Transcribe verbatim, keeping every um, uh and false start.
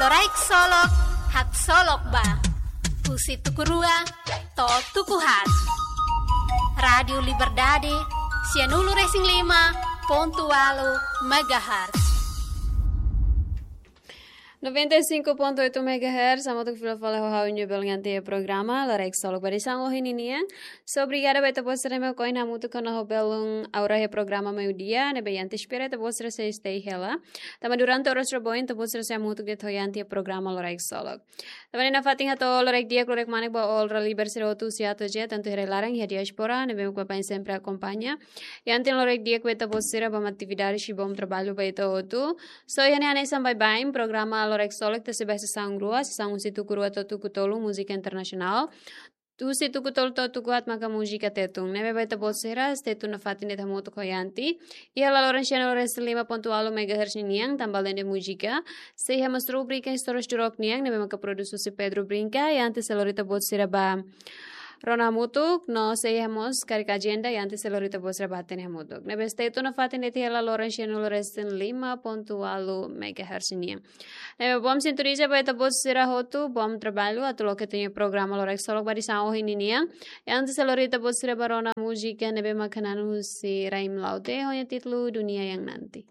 Loraik Solok, haksolok ba. Husi tuku rua to'o tuku haat. Rádiu Liberdade, sianulu-resin-lima pontu ualu megahertz. Noventa e cinco ponto oito megahertz, hamutuk fila fali ho ha'u-nia belun iha programa Loraik Solok ba edisaun ohin ninian. So, obrigada ba ita-boot sira ne'ebé ohin hamutuk ona ho belun Aura iha programa meiudia, ne'ebé ita espera ita-boot sira sei stay hela. Tanba durante oras rua oin ita-boot sira sei hamutuk de'it ho ita-nia programa Loraik Solok. Tanba ne'e nafatin hato'o loraik di'ak, loraik manek ba all Raliber sira hotu husi A to'o Z, tantu iha rai-laran, iha diáspora, ne'ebé mak baibain sempre akompaña. Ita-nia loraik di'ak ba ita-boot sira, bom atividade, bom trabalho ba ita hotu. So, iha ne'e hanesan baibain, programa Loraik Solok ita sei bá iha sesaun rua, sesaun husi tuku rua to'o tuku tolu, múzika internasionál. Husi tuku tolu to'o tuku haat maka múzika Tetun. Ne'ebé ba ita-boot sira, stay tune nafatin de'it hamutuk ho ita. Iha hela loron sianulu-resin-lima pontu ualu megahertz ninian, tanba alende múzika, sei iha mós rubrika Istórias do Rock nian, ne'ebé maka produs husi Pedro Brinca, ita sei lori ita-boot sira ba rona hamutuk, no sei iha mós karik ajenda, ita sei lori ita-boot sira ba hatene hamutuk. Ne'ebé stay tune nafatin de'it iha hela loron sianulu-resin-lima pontu ualu megahertz nian. Ne'ebé bom sintoniza ba ita-boot sira hotu, bom trabalho, atu loke ita-nia programa Loraik Solok ba edisaun ohin ninian. Ita sei lori ita-boot sira ba rona múzika ne'ebé maka naran husi Raim Laute, ho nia títulu Dunia Yang Nanti.